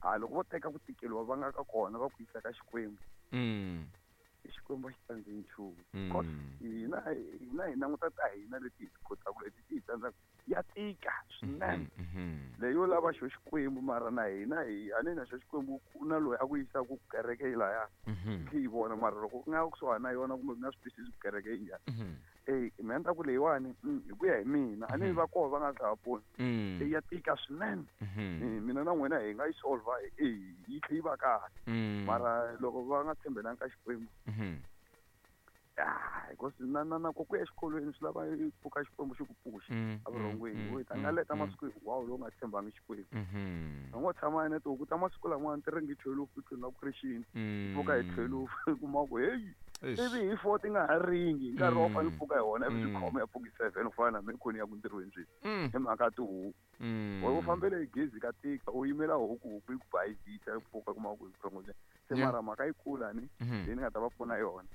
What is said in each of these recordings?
Ha loko vo teka ku tikeliwa va nga ka kona va ku yisa ka Xikwembu. Xikwembu a xi tsandzeki nchumu. Because hina hi languta ta hina leti hi ti kotaka, leti ti hi tsandzaka ya tika swinene. Leyo lava xo Xikwembu, mara na hina hi a ni na xo Xikwembu ku na loyi a ku yisaka kereke yi laya. Hi yi vona, mara loko u nga kusuhani na yona kumbe u nga swi twisisi ku kereke yi njhani. Mina ni ta ku leyiwani, hi ku ya hi mina, a ni va koho va nga tlhava pfuna. Ya tika swinene. Mina na n'wina hi nga yi solve, yi tlhe yi va kahle. Mara loko va nga tshembelanga ka Xikwembu, because na ku ya exikolweni swi lava i pfuka Xikwembu xi ku pfuxa evurhongweni. U ta nga leta masiku hinkwawo lowu nga tshembangi Xikwembu. U ngo tshama na tihuku ta masiku lamawani ti ringi 12, ti nga ku ri xini. Pfuka hi 12, u kuma ku heyi, ivi hi 4 ti nga ha ringi, hi nkarhi wa fanele pfuka hi wona, ivi swi khoma ya pfuki 7, u fana na mina khoni ya ku ntirhweni sweswi. Hi mhaka tihuku. U fambele hi gezi ka tika, u yimela huku, huku yi ku bayizisa, yi pfuka kuma ku hi vurhongo bya. Se mara mhaka yi kula ni, leyi ni nga ta va pfuna yona.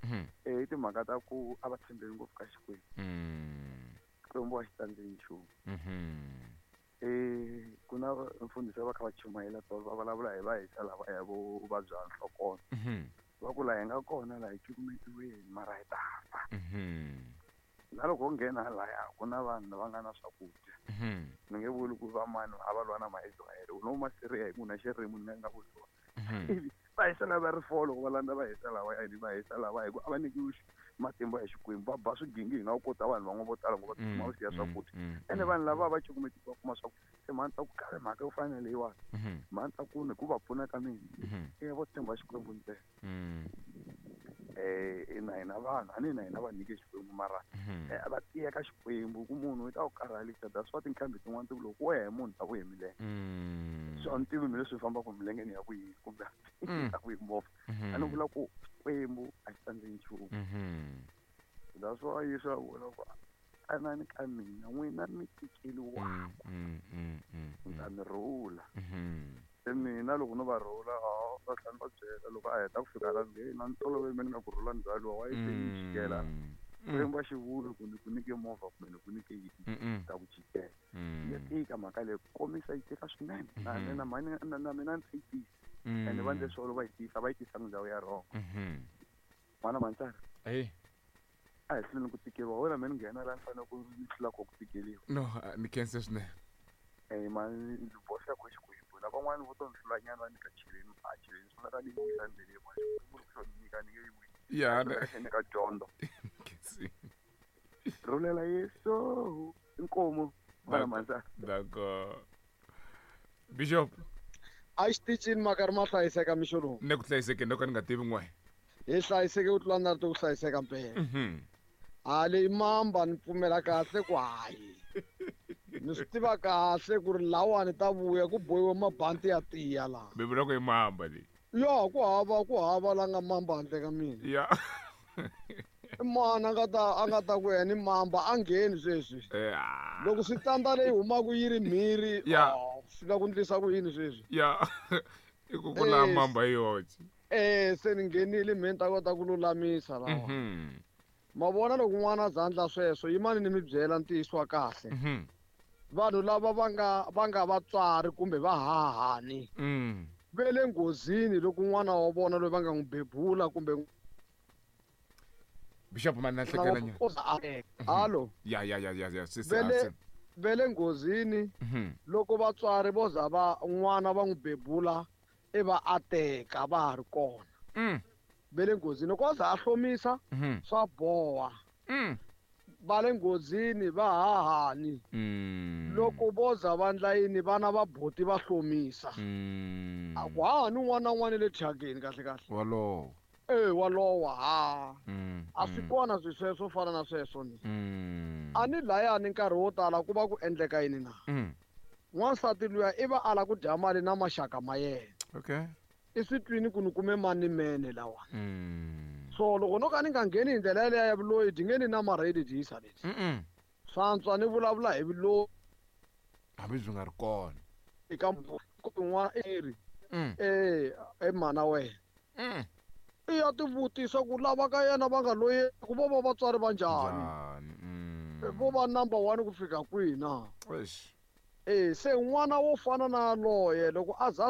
I timhaka ta ku a va tshembeli ngopfu ka Xikwembu. Xikwembu a xi tsandzeki nchumu. Ku na mfundhisi va kha va chumayela tolo, va vulavula hi va hisa lava ya vo vabya nhlokono. Va ku laha hi nga kona laha hi cukumetiweni, mara hi ta fa. Na loko u nghena laya ku na vanhu lava nga na swakudya. Ni nge vuli ku va mani a va lwa na ma-Israel, u no ma Syria hi ku na xirimi ni nga vuli swona. Ivi va hisa lava ri folo, loko va landza va hisa lava ya, va hisa lava hi ku a va nyikiwi matimba ya Xikwembu, va ba swigingi hi nga ku kota vanhu van'wana vo tala ngo va tsutsuma va siya swakudya. Ene vanhu lava va cukumetiwa va kuma swakudya. Se mhani ta ku khale mhaka yo fana na leyiwani. Mhani ta ku ni ku va pfuna ka mina. Vo tshemba Xikwembu ntsena. Na hina vanhu, a ni na hina va nyike Xikwembu, mara, va tiya ka Xikwembu ku munhu u ta ku karhalisa. That's why tinqambi tin'wana ti ku loko wo ya hi munhu ta ku hi milenge. So a ni tivi mina leswi fambaka hi milenge ni ya ku yini kumbe ta ku hi movha. A ni vula ku Xikwembu a xi tsandzeki nchumu. That's why Yesu a vula ku tanani ka mina n'wina mi tikeliwaka. Ni ta mi rhula. Se mina loko no va rhula, va tlhela va byela loko a heta ku fika la nge, na ntolovelo mina ni nga ku rhula ni byaliwa, wa yi se yi jikela. Xikwembu a xi vuli ku ni ku nyike movha kumbe ni ku nyike yini, ta ku jikela. Ya tika mhaka leyi, ku komisa yi tika swinene. Na mina ni yi tisa. Ene va endle swona va yi tisa, va yi tisa ndhawu ya wrong. N'wana Mantsara. A hi hluleni ku tikeriwa, wena mina ni nghena laha ni fanele ku ni hlula ku tikeriwa. No, ni khensa swinene. Ma ndzi boxa ku Xikwembu. Na van'wani vo to ni hlula nyana va nyika cheleni, a cheleni swi nga ni wisa ndleleni, ma Xikwembu loko xo ni nyika ni nge yi wisi. Xi nga nyika dyondzo. Khensi. Rhulela Yesu, inkomu, n'wana Mantsara. D'accord. Bishop. A xitichini makari ma hlayiseka mixo lowu. Ne ku hlayiseke no ka ni nga tivi n'we. Hi hlayiseke ku tlula na ri ku hlayiseka mpela. Ha leyi mamba ni pfumela kahle ku hayi. Ni swi tiva kahle ku ri lawani ta vuya ku bohiwa mabanti ya tiya laha. Mi vula ku i mamba leyi. Ya, ku hava la nga mamba handle ka mina. I mani a nga ta ku yena i mamba a ngheni sweswi. Loko swi tsandza leyi humaka yi ri mhiri, swi la ku ndlisa ku yini sweswi? I ku ku la mamba yi yoxe. Se ni nghenile mhe ni ta kota ku lulamisa lawa. Ma vona loko n'wana a za endla sweswo, yimani ni mi byela ntiyiso wa kahle. Vanhu lava va nga vatswari kumbe va hahani, ve le nghozini loko n'wana wa vona loyi va nga n'wi bebula kumbe Bishop mani na hlekela nyana. Lava a teka. Hallo. Ya, ya, ya, ya, ya, se, se, Ve le se. ve le nghozini loko vatswari vo za va n'wana va n'wi bebula i va a teka va ha ri kona. Ve le nghozini loko a za a hlomisa, swa boha. Va le nghozini va hahani. Loko vo za va ndla yini vana va boti va hlomisa. A ku hahani un'wana na un'wana le thyakeni kahle kahle. Walowo. Walowa, ha. A swi kona swi sweswo fana na sweswo ni. A ni layani nkarhi wo tala ku va ku endleka yini na? N'wansati luya i va ala ku dya mali na maxaka ma yena. I swi twini ku ni kume mani mene lawa. So loko no ka ni nga ngheni hi ndlela yaleyo ya vuloyi, dyi nge ni na marheli dyisa leti. Swantswa ni vulavula hi vuloyi. Hambi byi nga ri kona. Eka n'wana i ri, mana wena. I ya tivutisa ku lava ka yena va nga loyi ku vo va vatswari va njhani? Njhani? Vo va number 1 ku fika kwihi na? Eish. Se n'wana wo fana na loye loko a za